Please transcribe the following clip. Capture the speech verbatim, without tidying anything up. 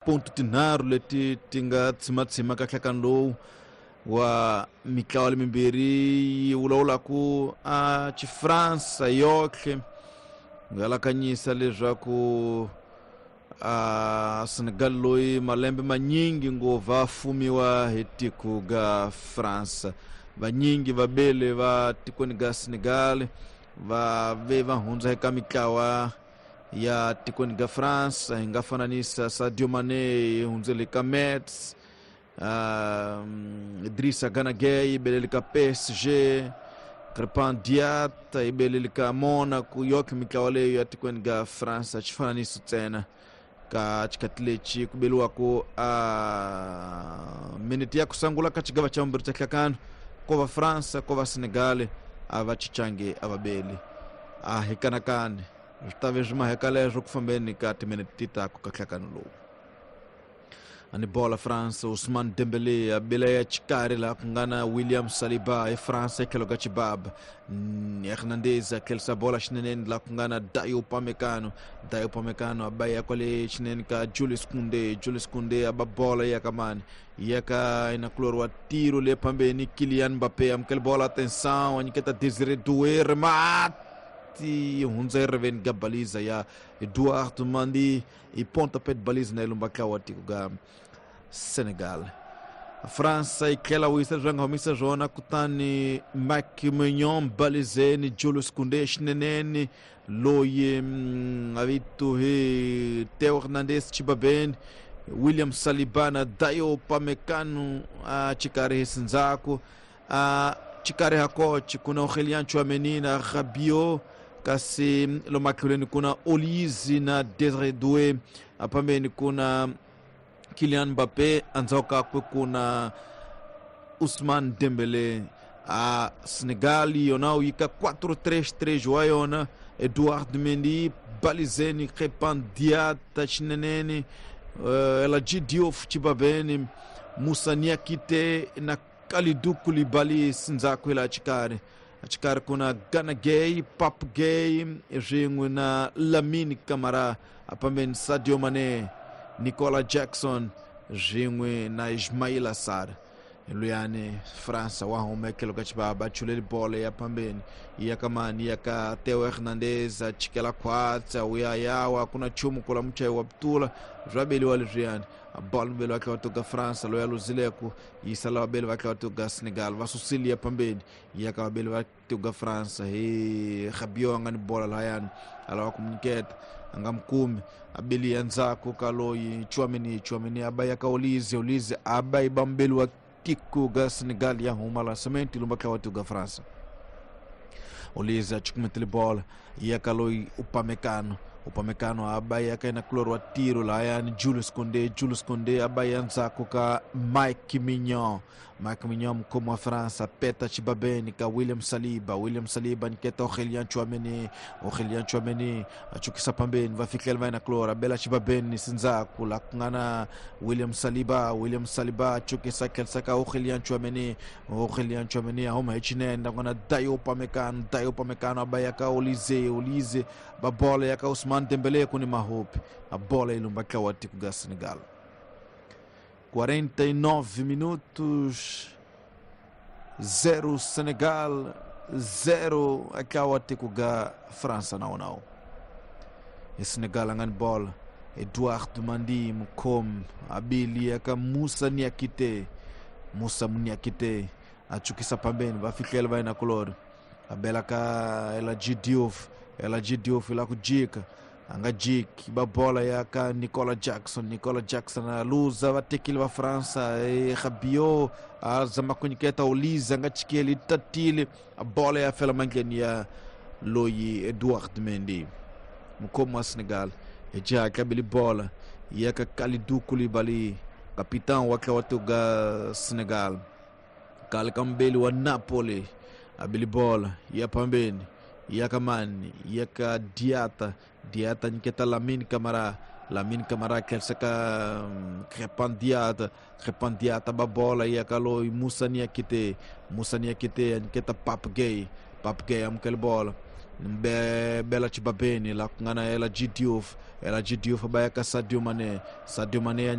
Ponto tinharhu leti ti nga tshimatshima ka nhlakano lowu wa mitlawa lemimbirhi yi vulavulaku a Xifransa yoxe ngalakanyisa leswaku a Senegal loyi malembe manyingi ngova fumiwa hi tiko ga France. Vanyingi vabele va tikweni ga Senegal va ve va hundza eka mitlawa ya tikweni ga France. Hi nga fananisa Sadio Mané hundzele ka Metz, uh, Idrissa Gana Gueye belele ka P S G, Crépin Diatta ibelele ka Monaco. Yoke mitlawa leyo ya tikweni ga France xifananiso ntsena ka xikati lexi ku beliwako a minute ya ku sungula ka xigava xa vumbirhi xa nhlakano ko va France ko va Senegal a va chichangi a va beli a hi kanakani swi ta ve swi maheka leswo ku fambeni ka timinete ti taku ka nhlakano lowu. Ani bola France Ousmane Dembélé a bela ya xikarhi laha ku nga na William Saliba e France etlhelo ka Chibaba. Hernandez a tlherisa bola xineneni laha ku nga na Dayo Upamecano. Dayo Upamecano a ba ya kwale xinene ka Julius Koundé. Julius Koundé a ba bola ya ka mani ya ka inakulori wa tiro le phambeni Kylian Mbappé amukela bola, atenção a nyiketa Désiré Doué, remate hundza ereveni ga baliza ya Edouard Mendy e pontapé de baliza na ilumba wa tiko ga Senegal. França yi tlhela wisa leswi va nga humisa swona kutani Mike Maignan balizeni Julius Koundé xineneni loyi a vito hi Theo Hernandez Chibabeni William Saliba na Dayo Upamecano a xikarhi hi sindzhaku a xikarhi ha coach kuna Aurélien Tchouaméni na Rabiot, kasi lomatlhelweni kuna Olise na Désiré Doué, phambeni kuna Kylian Mbappé, endzhaku kakwe kuna Ousmane Dembélé. A Senegal yona wu yika quatro três três wa yona Edouard Mendy balizeni Crépin Diatta xineneni uh, El Hadji Diouf Chibabeni Moussa Niakité na Kalidou Koulibaly sindzhaku hi laha xikarhi. Xikarhi kuna Gana Gueye, Pape Gueye swin'we na Lamine Camara, phambeni Sadio Mané, Nicolas Jackson swin'we na Ismaila Sarr. Luyani França wa huma etlhelo ka Chibaba a chuleli bolo ya phambeni ya ka mani ya ka Theo Hernandez a chikela khwatsa wu ya yawa ku na nchumu kula muchayi wa putula swa beliwa leswiyani a bolo mubeli wa tlhela wa tiko ga France loyi a luzileku yisa lava beli va tlhela wa tiko ga Senegal va susile ya phambeni ya ka vabeli va tiko ga France hi Rabiot a nga ni bola lahayani a lava ku munyiketa a nga mi kumi a beli ya ndzhaku ka loyi Tchouaméni. Tchouaméni a ba ya ka Olise. Olise a ba yi ba mubeli wa tiko ga Senegal ya huma lançamento ilumba tlhela wa tiko ga França. Olise a chukumetele bola ya ka loyi Upamecano. Upamecano a ba ya ka inakulori wa tiro lahayani Julius Koundé. Julius Koundé a ba ya ndzhaku ka Mike Maignan. Mike Maignan mukhomi wa France peta Chibabeni ka William Saliba. William Saliba nyiketa Aurélien Tchouaméni. Aurélien Tchouaméni a chukisa phambeni va fikela va inakulori a bela Chibabeni sindzhaku laha ku nga na William Saliba. William Saliba a chukisa tlherisa ka Aurélien Tchouaméni. Aurélien Tchouaméni a huma hi xinene la ku nga na Dayo Upamecano. Dayo Upamecano a ba ya ka Olise. Olise ba bola ya ka Ousmane Dembélé ku ni mahopi a bola yi lumba ntlawa wa tiko ga Senegal. quarenta e nove minutos, zero Senegal, zero ntlawa tiko ga França nawu nawu. E Senegal a nga ni bola Edouard Mendy mukhomi a beli ya ka Moussa Niakité. Moussa Niakité a chukisa phambeni va fihlela va inakulori a bela ka El Hadji Diouf. El Hadji Diouf la ku jika a nga jiki ba bola ya ka Nicolas Jackson. Nicolas Jackson a luza va tekile va França e Rabiot a zama ku nyiketa Olise a nga chikeli tatile a bola ya fela mandleni ya loyi Edouard Mendy mukhomi wa Senegal. Hi xihatla beli bola ya ka Kalidou Koulibaly capitão wa tlhela wa tiko ga Senegal. Kale ka mubeli wa Napoli a beli bola ya phambeni ya ka mani ya ka Diatta. Diatta nyiketa Lamine Camara. Lamine Camara tlherisa ka Crépin Diatta. Crépin Diatta ba bola ya ka loyi Moussa Niakité. Moussa Niakité a nyiketa Pape Gueye. Pape Gueye amukela bola Ni bela chibabeni la ku nga na Ela Diouf. Ela Diouf ba ya ka Sadio Mane. Sadio Mane ya